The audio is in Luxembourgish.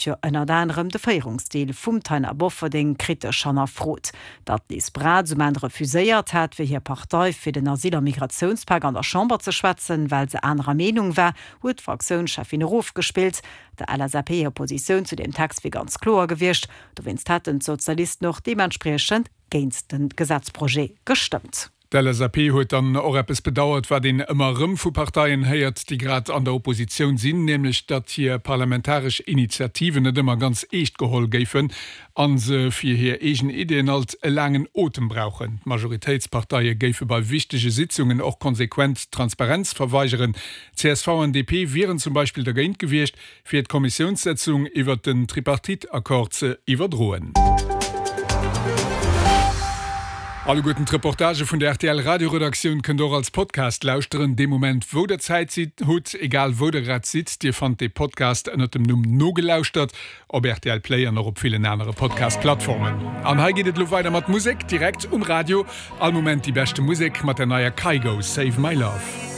Jo ënnert anerem de Féierungsstil vum Taina Bofferding kritesch hannerfrot. Datt d'Liz Braz um Enn refuséiert hat, fir hir Partei fir den Asyl a Migratiounspak an der Chamber ze schwätzen, well se anerer Meenung war, huet d'Fraktiounscheffin erofgespillt. Der LSAP hir Positioun zu deem Text wier ganz kloer gewiescht, dowéinst hätten d'Sozialisten och deementspriechend géint de Gesetzprojet gestëmmt. D'LSAP huet dann och eppes bedauert, wat een ëmmer erëm vu Parteien héiert, déi grad an der Oppositioun sinn, nämlech datt hir parlamentaresch Initiativen net ëmmer ganz eescht geholl géifen a se fir hir eegen Ideeën alt e laangen Otem brauchen. D'Majoritéitsparteie géife bei wichtege Sitzungen och konsequent d'Transparenz verweigeren. Csv an DP wieren zum Beispill dergéint gewiescht, fir d'Kommissiounssëtzung iwwert den Tripartite-Accord ze iwwerdroen. Alleguerten d'Reportagë vun der rtl Radioredaktioun kënnt der och als Podcast lauschteren, dee Moment wou der Zäit hutt, egal wou der grad sidd. Dir fannt dee Podcast ënnert dem Numm Nogelauschtert op rtl Play an och op villen anere Podcast-Plattformen. An hei geet et elo weider mat Musek direkt um Radio. All Moment déi beschte Musek mat der neier Kygo, Save My Love.